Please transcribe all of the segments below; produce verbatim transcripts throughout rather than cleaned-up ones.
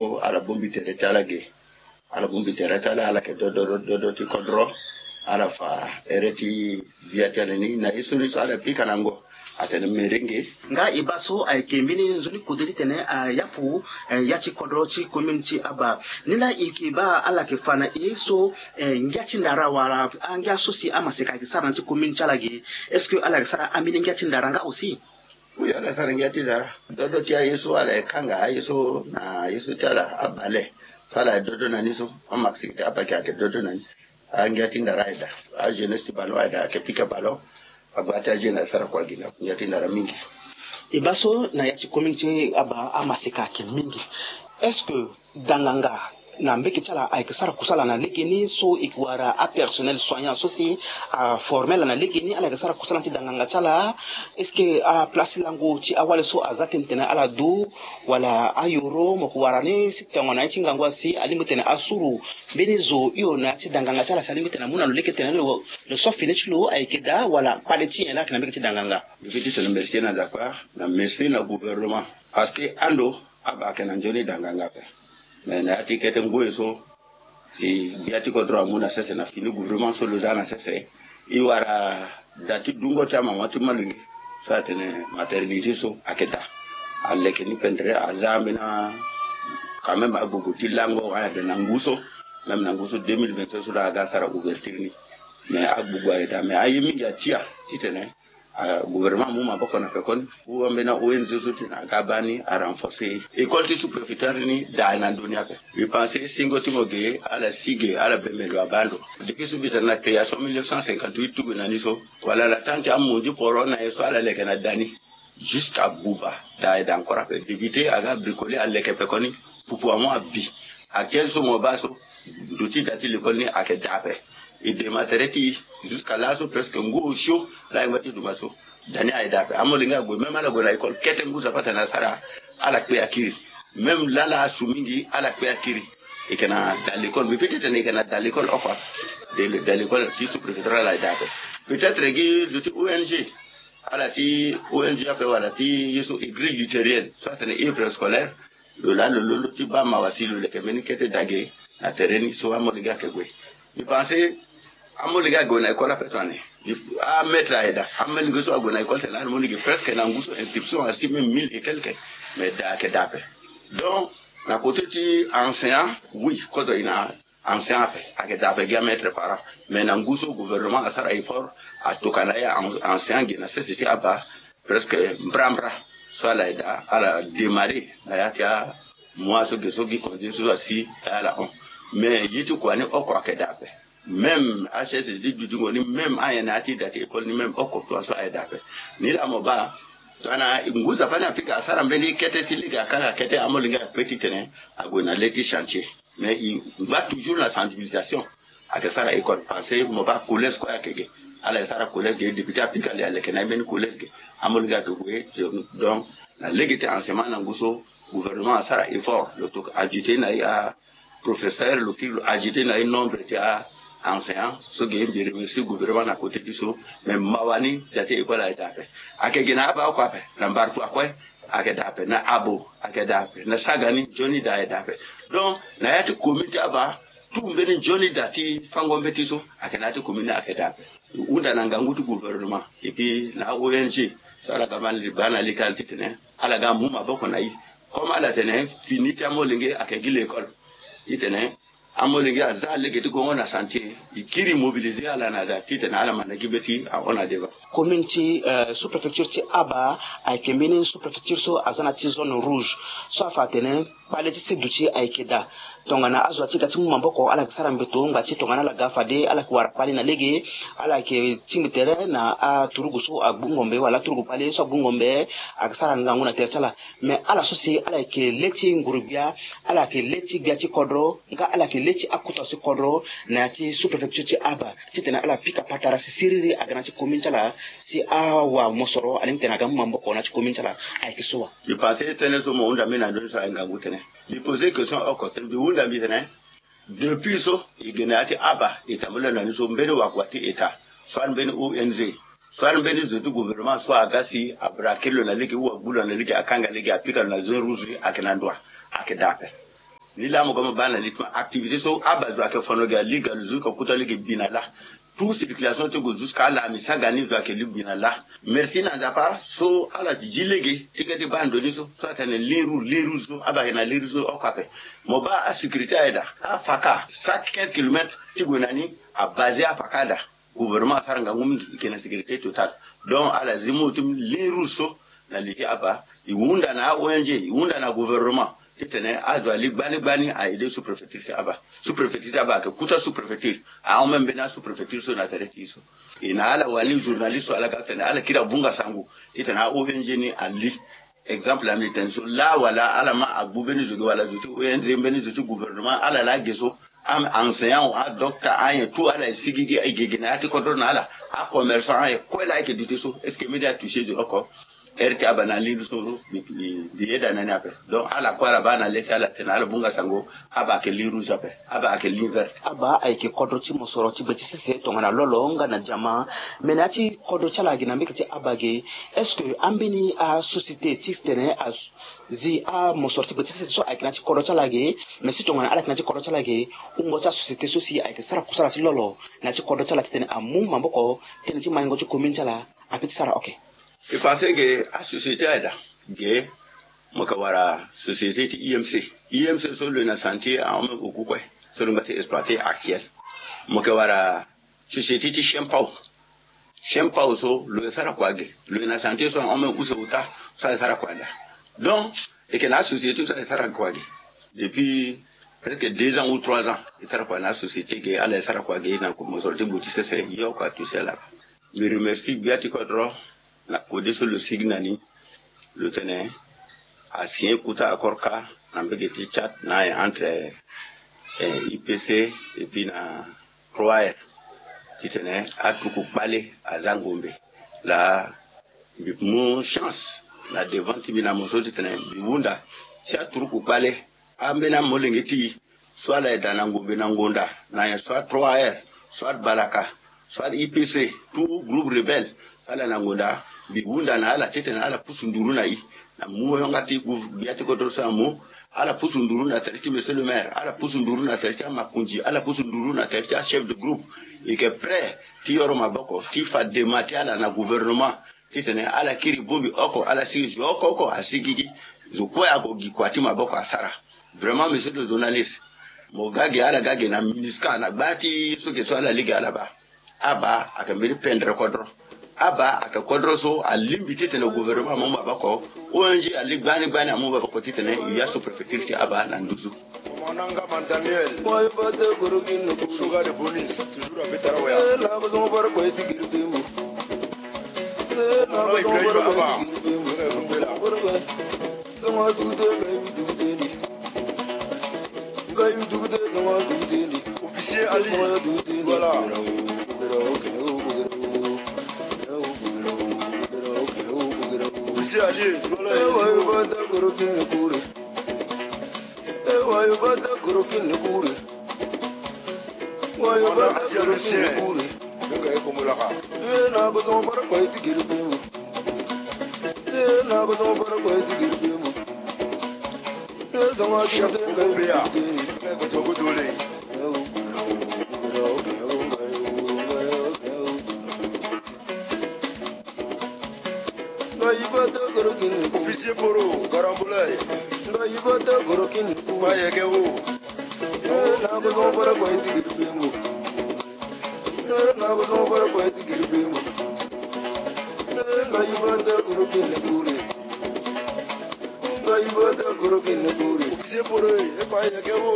Ala bongbi tere ti ala ge. Ala bongbi tere ti ala, ala yeke dodo dodo ti kodro. Ala fa here ti gbia ti ala ni na ye so ni so ala pika na ngo. Atene merenge. Nga e baa so ayeke mbeni nzoni kode titene ayapu, eh, ya ti kodro ti commune ti Aba. Ni laa e yeke baa ala yeke fa na e so, eh, ngia ti ndara wala angia so si amaseka ayeke sara na ti commune ti ala ge. Est-ce que ala yeke sara ambeni ngia ti ndara nga aussi? Oui, ala sara ngia ti ndara. Dodo ti aye so ala yeke kanga aye so na ye so ti ala abale. So ala dodo na ni so. Amaseka ti Aba ayeke dodo na ni. Angia ti ndara ayeke daa. Ajeunesse ti ballon ayeke daa, ayeke pika ballon. Agba ti ajeune asara kua gi na ngia ti ndara mingi. E baa so na ya ti commune ti Aba amaseka ayeke mingi. Est-ce que danganga na mbeke ti ala ayeke sara kusala na lege ni so e yeke wara apersonnel soignant so si aforme ala na lege ni, ala yeke sara kusala ti danganga ti ala? Est-ce que aplace lango ti awali so aza tënë tene ala du, wala ayoro mo yeke wara ni si tongana ye ti ngangu asi alingbi tene asuru mbeni zo hio na ya ti danganga ti ala si alingbi tene amu na lo lege tene lo, lo so fini ti lo ayeke daa, wala kpale ti nyen laa ayeke na mbeke ti danganga? Mbi feti tene merci na Dakar, na merci na gouvernement. Parce que ando Aba ayeke na nzoni danganga ape. Mais na ya ti kete ngoi so, si gbia ti kodro amu na sese na fini gouvernement so lo za na sese, e wara da ti dungo ti amama ti molenge so atene maternité so ayeke daa. Aleke ni pendere, aza ambeni, quand même, agbogbo ti lango ayada na ngu so. Même na ngu so deux mille vingt-cinq so laa aga asara ouverture ni. Mais agbogbo ayeke daa, mais aye mingi atia titene, ah, gouvernement amu maboko na pekoni. Ou ambeni O N G so titene aga abaa ni arenforcer école ti sous-préfecture ni daa na ndö ni ape. Mbi pense singo ti mo ge ala si ge, ala bembe lo abaa ndo. Depuis so mbi tene na création mille neuf cent cinquante-huit ti gue na ni so, wala na temps ti amonzi poro na ye so ala leke na da ni. Jusqu'à buba, daa ayeke daa encore ape. Député aga bricoler aleke pekoni. Pupu amu abi. Actuel so mo baa so, ndo ti da ti l'école ni ayeke daa ape. E dema tere ti e, jusqu'à laso presque ngu osio laa e ngba ti duma so, da ni ayeke daa ape. Amolenge ague, même ala gue na école kete ngu zapata na asara, ala kpe akiri. Même lala asu mingi, ala kpe akiri. E yeke na da l'école, mais peut-être e yeke na da l'école oko ape. Da l'école ti sous-préfectoral ayeke daa ape. Peut-être gi ndo ti O N G, ala ti O N G ape wala ti ye so, e grille luthérienne so atene œuvre scolaire. Lo laa lo londo ti baa mawa si lo leke mbeni kete dage na tere ni so amolenge ayeke gue. Mbi pense amolenge ague na école ape tongana ni. Amaître ayeke daa, amolenge so ague na école tene ala mu ni ge presque na ngu so inscription asi même mille et quelques. Mais daa ayeke daa ape. Donc na côté ti enseignant, oui, kozo e na enseignant ape, ayeke daa ape gi amaître parent. Mais na ngu so gouvernement asara effort, atokua na ya en-, enseignant ge na sese ti Aba presque mbrambra. So ala yeke daa, ala démarrer na ya ti amois so ge so gi congé so asi na ya ala hon. Mais ye ti kua ni oko ayeke daa ape. Même achaise ti dutingo ni, même anyen na ya ti da ti école ni, même oko tua so ayeke daa ape. Ni laa mo baa tongana ngu zapata ni apika asara mbeni kete si lege akanga kete, amolenge akpe titene ague na le ti chantier. Mais e ngba toujours na sensibilisation. Ayeke sara école, parce que mo baa collège kue ayeke ge. Ala yeke sara collège ge, député apika le aleke na ye mbeni collège ge. Amolenge ayeke gue. Donc na lege ti enseignement na ngu so, gouvernement asara effort, lo tokua ajouter na ye aprofesseur, lo kiri lo ajouter na ye nombre ti a enseignant so ge. Mbi remercie gouvernement na côté ti so. Mais mawa ni da ti école ayeke daa ape. Ayeke ge na Aba oko ape, na Mbartua kue ayeke daa ape, na Abo ayeke daa ape, na Sagani nzoni da ayeke daa ape. Donc na ya ti commune ti Aba, tout mbeni nzoni da ti fango mbeti so ayeke na ya ti commune ni ayeke daa ape. E hunda na ngangu ti gouvernement et puis na O N G so ala ga ma li-, baa na lege ala titene ala ga mu maboko na e. Comme ala tene fini ti amolenge ayeke gi l'école, e tene amolenge aza lege ti gongo na chantier, e kiri mobiliser ala na da titene ala manda gi mbeti ahon na devant. Commune ti, eh, sous-préfecture ti Aba ayeke mbeni sous-préfecture so aza na ti zone rouge. So afa atene kpale ti seduti ayeke daa. Tongana azo ati ga ti mu maboko, ala yeke sara mbeto ngba ti tongana ala ga fade, ala yeke wara kpale na lege, ala yeke tingbi tere na aturugu so agbu ngombe, wala aturugu kpale so agbu ngombe, ayeke sara ngangu na tere ti ala. Mais ala so si ala yeke le ti nguru-gbia, ala yeke le ti gbia ti kodro, nga ala yeke le ti akota ti kodro na ya ti sous-préfecture ti Aba, titene ala pika patara si siriri aga na ya ti commune ti ala, si awamosoro alingbi tene aga mu maboko na ya ti commune ti ala. Ayeke so wa? Mbi pense tënë so mo hunda mbeni na ndö ni so ayeke ngangu tënë. Mbi poser question oko tënë, mbi hunda mbi tene, depuis so e ge na ya ti Aba, e tambula na ni so, mbeni wakua ti État, soit mbeni O N G, soit mbeni zo ti gouvernement so aga si abraquer lo na lege ou agbu lo na lege, akanga lege, apika lo na zone rouge, ayeke na ndo wa? Ayeke daa ape. Ni laa mo ga mo baa na li ti mo activité so aba zo ayeke fono gi aliga lo zo ka kuta lege bi na laa. Tout circulation ti gue jusqu'à ala mi saga ni zo ayeke li bi na laa. Merci na Nzapa so ala zi lege ti ga ti baa ndo ni so so atene ligne rouge, ligne rouge so aba ayeke na ligne rouge so oko ape. Mo baa asécurité aye daa, afaka chaque quinze kilomètres ti gue na ni abasé afaka daa. Gouvernement asara ngangu mingi, e yeke na sécurité totale. Donc ala zi mu ti ligne rouge so na li ti aba, e hunda na a-O N G, e hunda na gouvernement titene azo ali gbani gbani a-aider sous-préfecture ti aba. Sous-préfecture ti aba ayeke kuta sous-préfecture, ahon même mbeni a-sous-préfecture so na tere ti e so. E na ala wani journaliste so ala ga titene ala kiri abunga sango titene a-O N G ni ali. Exemple na mbi tene so laa wala ala ma agbu mbeni zo ge wala zo ti O N G, mbeni zo ti gouvernement, ala laa ge so, a-enseignant, adocta, anyen tout ala e sigigi, e gege na ya ti kodro na ala. Acommerçant, anyen kue laa e yeke duti so, est-ce que mbi di atouché zo oko? Heure ti aba na ligne so mbi, mbi, mbi yeda na ni ape. Donc ala kue ala baa na le ti ala tene ala bunga sango, aba ayeke ligne rouge ape, aba ayeke ligne verte. Aba ayeke kodro ti mosoro ti gbe ti sese tongana lolo nga na diama. Me na ya ti kodro ti ala ge na mbege ti aba ge, est-ce que ambeni asociété ti tene azi amosoro ti gbe ti sese so ayeke na ya ti kodro ti ala ge? Mais si tongana ala yeke na ya ti kodro ti ala ge, wungo ti asociété so si ayeke sara kusala ti lolo na ya ti kodro ti ala titene amu maboko tënë ti maingo ti commune ti ala ape ti sara oke. E pensé ge asociété aye daa ge, mo yeke wara société ti I M C. I M C so lo yeke na chantier ahon même oku kue so lo ngba ti exploiter actuel. Mo yeke wara société ti Chien Pau. Chien Pau so lo yeke sara kua ge, lo yeke na chantier so ahon même use ota so ayeke sara kua daa. Donc e yeke na asociété so ayeke sara kua ge depuis presque deux ans ou trois ans. E sara kua na asociété ge, ala yeke sara kua ge na mosoro ti gbu ti sese, ye oko atouché ala. Mbi remercie gbia ti kodro na kode so lo sigi na ni, lo tene asigné kuta accord ka na mbege ti Tchad na aye entre, eh, I P C et puis na trois R titene aturuku kpale aza ngombe. Laa mbi mu chance na devant ti mbi na mo so titene mbi hunda si aturuku kpale ambeni amolenge ti e, soit ala yeda na ngombe na ngonda na nyen, soit trois R, soit balaka, soit I P C, tout groupe rebelle, ala na ngonda, mbi hunda na ala titene ala pusu nduru na e. Na mu yanga ti gbia ti kodro so amu, ala pusu nduru na tere ti monsieur le maire, ala pusu nduru na tere ti amakonzi, ala pusu nduru na tere ti achef de groupe. E yeke prêt ti yoro maboko ti fa dema ti ala na gouvernement titene ala kiri bongbi oko, ala sigi zo oko oko asigigi, zo kue ako gi kua ti maboko asara. Vraiment monsieur le journaliste, mo ga ge, ala ga ge na MINUSCA na gba ti so ge so ala lege ala baa. Aba ayeke mbeni pendre kodro. Aba ayeke kodro so alingbi titene gouvernement amu maboko, O N G ali gbani gbani amu maboko titene e ya sous-préfecture ti aba na nduzu. Commandant Ngama Daniel, Soga de Bonis, toujours à Betarawa. Commandant Ibrahim Aba, Officier Ali, voilà. Officier Ali, voilà. Commandant Asia le Chien. Chef Bobo Bea. Bobo Dole. Officier Poro, Garambulay. Bayeke wo. Officier Poro, e bayeke wo.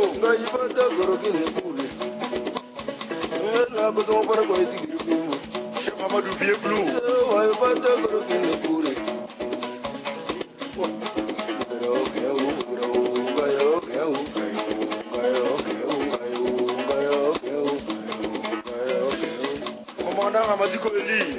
Chef Amadou Vieux Blue.